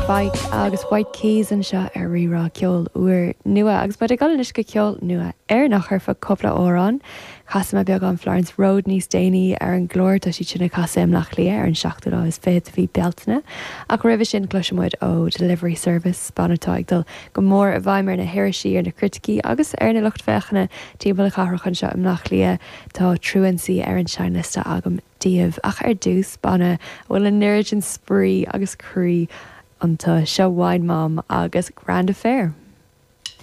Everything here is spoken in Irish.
Fike agus White Keys anseo ar Rí-Rá Ceol Úr Nua agus muid ag dul anois go ceol nua Éireannach ar feadh cúpla amhrán. Casfaidh mé beagán Florence Road níos déanaí ar an gclár, tá siad sin ag casadh i mBleá Cliath ar an seachtú lá is fichead de mhí Bealtaine. Ach roimhe sin cloisfidh muid ó Delivery Service, banna atá ag dul go mór i bhfeidhm ar na hirisí, ar na criticí agus ar na lucht féachana timpeall na cathrach anseo i mBleá Cliath. Tá Truancy ar an seinnliosta agam daoibh. Ach ar dtús, banna a bhfuil an oiread sin spraoi agus croí iontu. Seo Wine Mom agus Grand Affair.